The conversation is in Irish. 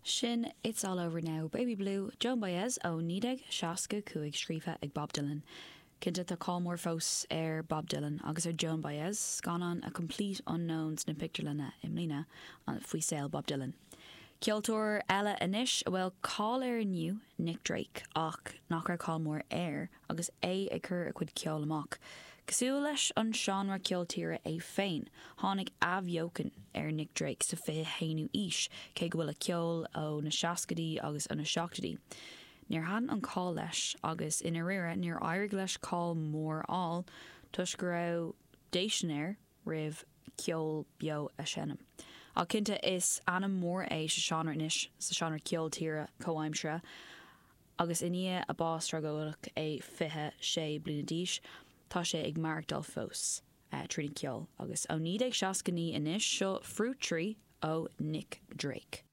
Sin It's All Over Now, Baby Blue, Joan Baez ó 1965 scríofa ag Bob Dylan. Cinnte tá cáil mór fós ar Bob Dylan agus ar Joan Baez, scannán A Complete Unknown sna pictiúrlanna i mbliana faoi saol Bob Dylan. Ceoltóir eile anois a bhfuil cáil air inniu, Nick Drake, ach nach raibh cáil mór air agus é ag cur a chuid ceoil amach. Cosúil leis an seánra ceol tíre é féin, tháinig athbheochan ar Nick Drake sa 21ú aois, cé go bhfuil a cheol ó na seascaidí agus ó na seachtóidí. Níor thaitin an cáil leis agus i ndáiríre níor éirigh leis cáil mhór a fháil toisc go raibh déistin air roimh ceol beo a sheinm. Ach cinnte is ainm mór é sa seánra anois, sa seánra ceol tíre comhaimseartha. Agus i ndiaidh a bás tragóideach, é 26 bliana d'aois, tá sé ag maireachtáil fós trína cheol. Agus ó 1969 anois, seo Fruit Tree ó Nick Drake.